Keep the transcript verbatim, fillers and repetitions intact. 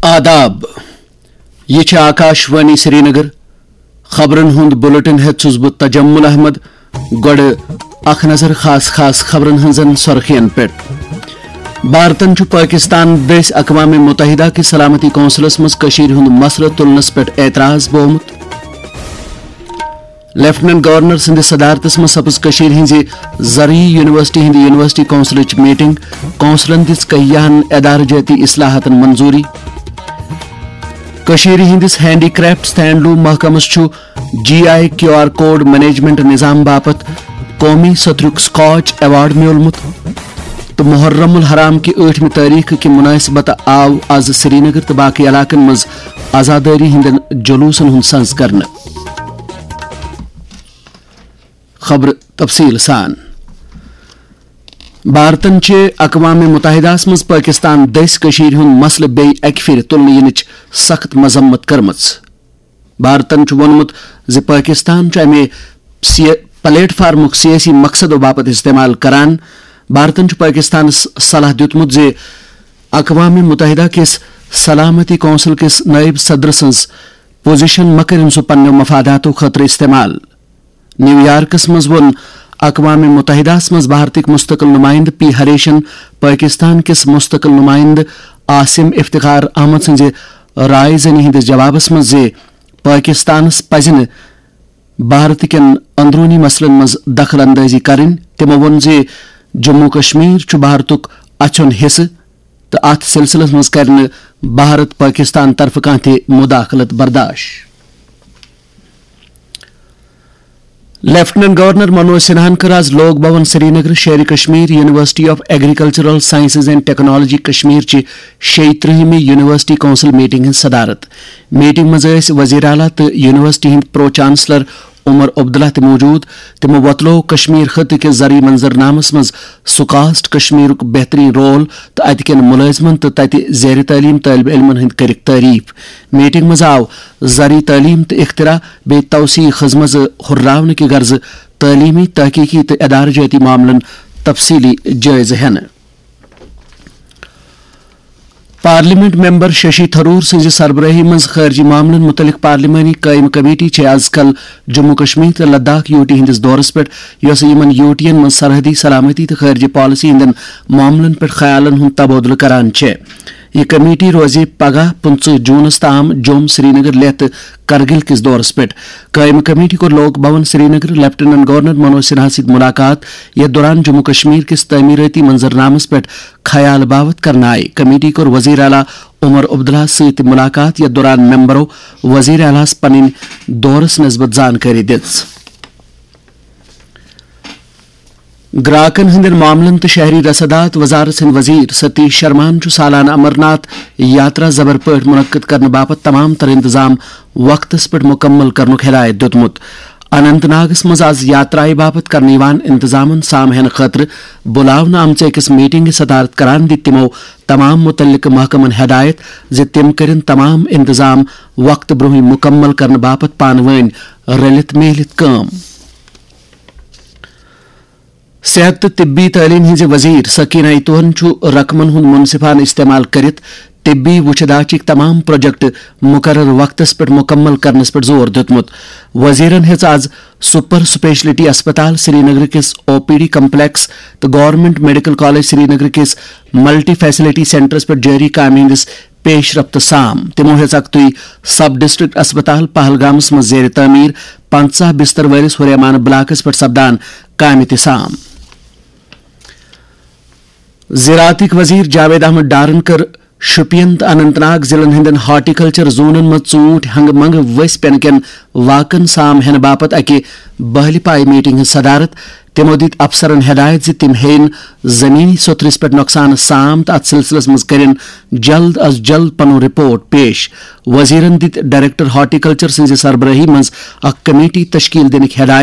آداب۔ یہِ چھِ آکاش وانی سرینگر۔ خبرن ہُنٛد بلیٹن ہٮ۪تھ چھُس بہٕ تجمل احمد۔ گۄڈٕ اکھ نظر خاص خاص خبرن ہٕنٛزن سرخین پٮ۪ٹھ۔ بھارتن چھُ پٲکستان دٔسۍ اقوام متحدہ کِس سلامتی کونسلس منٛز کٔشیٖرِ ہُنٛد مسلہٕ تُلنس پٮ۪ٹھ اعتراض بوومُت۔ لیفٹیننٹ گورنر سٕنٛدِس صدارتس منٛز سپٕز کٔشیٖرِ ہٕنٛزِ زرعی یونیورسٹی ہٕنٛدِ یونیورسٹی کونسلٕچ میٹنگ، کونسلن دِژ کیاہن ادارٕ جٲتی اصلاحاتن منظوٗری۔ کٔشیٖرِ ہٕنٛدِس ہینڈی کرافٹس تہٕ ہینڈلوم محکمس چھُ G I Q R code management نظام باپتھ قومی سترُک سکاچ ایوارڈ میوٗلمُت۔ تہٕ محرم الحرام کہِ ٲٹھمہِ تٲریخ کہِ مناسبت آو از سرینگر تہٕ باقی علاقن منٛز عزادٲری ہٕنٛدٮ۪ن جلوسن ہُنٛد سنز کرنہٕ۔ خبر تفصیل سان۔ بھارتن چھِ اقوام متحدہس منٛز پٲکستان دٔسۍ کٔشیٖرِ ہُنٛد مسلہٕ بیٚیہِ اَکہِ پھِرِ تُلنہٕ یِنٕچ سخت مذمت کٔرمٕژ۔ بھارتن چھُ ووٚنمُت زِ پٲکستان چھُ اَمہِ سی-، پلیٹ فارمُک سیٲسی مقصدو باپتھ استعمال کران۔ بھارتن چھُ پٲکستانس صلاح دیُتمُت زِ اقوام متحدہ کِس سلامتی کونسل کِس نائب صدر سٕنٛز پوزیشن مہ کٔرِن سُہ پننیو مفاداتو خٲطرٕ استعمال۔ نیویارکس منٛز ووٚن اقوام متحدہس منٛز بھارتٕکۍ مستقل نمائندٕ پی ہریشن پٲکستان کِس مستقل نمائندٕ عاصم افتخار احمد سٕنٛزِ رائے زنی ہٕنٛدِس جوابس منٛز زِ پٲکستانس پزِ نہٕ بھارت کٮ۪ن اندروٗنی مسلن منٛز دخل اندٲزی کرٕنۍ۔ تِمو ووٚن زِ جموں کشمیر چھُ بھارتُک اَژھیُن حصہٕ تہٕ اتھ سلسلس منٛز کرِ نہٕ بھارت پٲکستان طرفہٕ کانٛہہ تہِ مداخلت برداش۔ لیفٹیننٹ گورنر منوج سنہاہن کٔر از Lok Bhavan Srinagar Sher-e Kashmir university of agricultural sciences and technology Kashmir چہِ شیٚیہِ ترٕٛہمہِ یونیورسٹی کونسل میٹنگ ہٕنٛز صدارت۔ میٹنگ منٛز ٲسۍ وزیر اعلیٰ تہٕ یونیورسٹی ہٕنٛدۍ پرو چانسلر عمر عبداللہ تہِ موجود۔ تِمو وۄتلوو کشمیر خطہٕ کِس زرعی منظرنامس منٛز سُہ کاسٹ کشمیرُک بہترین رول تہٕ اتہِ کٮ۪ن ملٲزمن تہٕ تتہِ زیر تعلیم طالب علمن ہٕنٛدۍ کٔرٕکھ تعریف۔ میٹنگ منٛز آو زرعی تعلیم تہٕ اختراع بیٚیہِ توسیع خدمژٕ ہُرراونہٕ کہِ غرضہٕ تعلیمی، تحقیقی تہٕ ادارٕ جٲتی معاملن تفصیلی جٲیزٕ ہٮ۪نہٕ۔ پارلیمنٹ ممبر ششی تھرور سٕنٛزِ سربرٲہی منٛز خارجی معاملن متعلق پارلیمانی قٲیمہٕ کمیٹی چھےٚ از کل جموں کشمیر تہٕ لداخ یوٗ ٹی ہٕنٛدِس دورس پٮ۪ٹھ، یۄسہٕ یِمن یوٗ ٹی ین منٛز سرحدی سلامتی تہٕ خارجہ پالیسی ہٕنٛدٮ۪ن معاملن پٮ۪ٹھ خیالن ہُنٛد تبادلہٕ کران چھےٚ۔ یہِ کمیٹی روزِ پگاہ پٕنٛژٕہ جوٗنَس تام جوٚم، سرینگر، لیہہ تہٕ کرگل کِس دورس پٮ۪ٹھ۔ قٲیمہٕ کمیٹی کوٚر لوک بھون سرینگر لیفٹیننٹ گورنر منوج سنہا سۭتۍ ملاقات، یتھ دوران جموں کشمیر کِس تعمیرٲتی منظرنامس پٮ۪ٹھ خیال باوت کرنہٕ آیہِ۔ کمیٹی کوٚر وزیر اعلیٰ عمر عبداللہ سۭتۍ تہِ ملاقات، یتھ دوران ممبرو وزیر اعلیٰ ہس پنٕنۍ دورس نسبت زانکٲری دِژ۔ گراکن ہٕنٛدٮ۪ن معاملن تہٕ شہری رسدات وزارت سٕنٛدۍ وزیر ستیش شرماہن چھُ سالانہٕ امرناتھ یاترا زبر پٲٹھۍ منعقد کرنہٕ باپتھ تمام تر انتظام وقتس پٮ۪ٹھ مکمل کرنُک ہدایت دیُتمُت۔ اننت ناگس منٛز از یاترایہِ باپتھ کرنہٕ یِوان انتظامن سام ہینہٕ خٲطرٕ بُلاونہٕ آمژٕ أکِس میٹنگہِ صدارت کران دِتۍ تِمو تمام متعلقہٕ محکمن ہدایت زِ تِم کٔرِن تمام انتظام وقتہٕ برونٛہٕے مکمل کرنہٕ باپتھ پانہٕ وٲنۍ رٔلِتھ میٖلِتھ کٲم۔ صحت تہٕ طبی تعلیٖم ہٕنٛزِ وزیر سکینہ ایتوہن چھُ رقمن ہُنٛد منصفانہٕ استعمال کٔرِتھ طبی وُچھِ داچِک تمام پروجیکٹ مقرر وقتس پٮ۪ٹھ مکمل کرنس پٮ۪ٹھ زور دیُتمُت۔ وزیرن ہیٚژ از سپر سپیشلٹی اسپتال سرینگر کِس او پی ڈی کمپلیکس تہٕ گورنمنٹ میڈیکل کالج سرینگر کِس ملٹی فیسلٹی سینٹرس پٮ۪ٹھ جٲری کامہِ ہٕنٛدِس پیش رفت سام۔ تِمو ہیٚژ اکتُے سب ڈسٹرکٹ اسپتال پہلگامس منٛز زیر تعمیٖر پنژاہ بستر وٲلِس ہُریمان بلاکس پٮ۪ٹھ سپدان کامہِ تہِ سام۔ زراعتٕکۍ وزیر جاوید احمد ڈارن کٔر شوپین تہٕ اننت ناگ ضلعن ہٕنٛدٮ۪ن ہارٹیکلچر زونن منٛز ژوٗنٹھۍ ہنگہٕ منگہٕ ؤسۍ پینہٕ کٮ۪ن واقعن سام ہینہٕ باپتھ اکہِ بہلہِ پایہِ میٹنگ ہٕنٛز صدارت۔ تِمو دِتۍ افسرن ہدایت زِ تِم ہیٚیِن زمینی سوٚتھرِس پٮ۪ٹھ نۄقصانس سام تہٕ اتھ سلسلس منٛز کٔرِن جلد از جلد پنُن رپورٹ پیش۔ وزیرن دِتۍ ڈائریکٹر ہارٹیکلچر سٕنٛزِ سربرٲہی منٛز اکھ کمیٹی تشکیل دِنٕکۍ ہدایت۔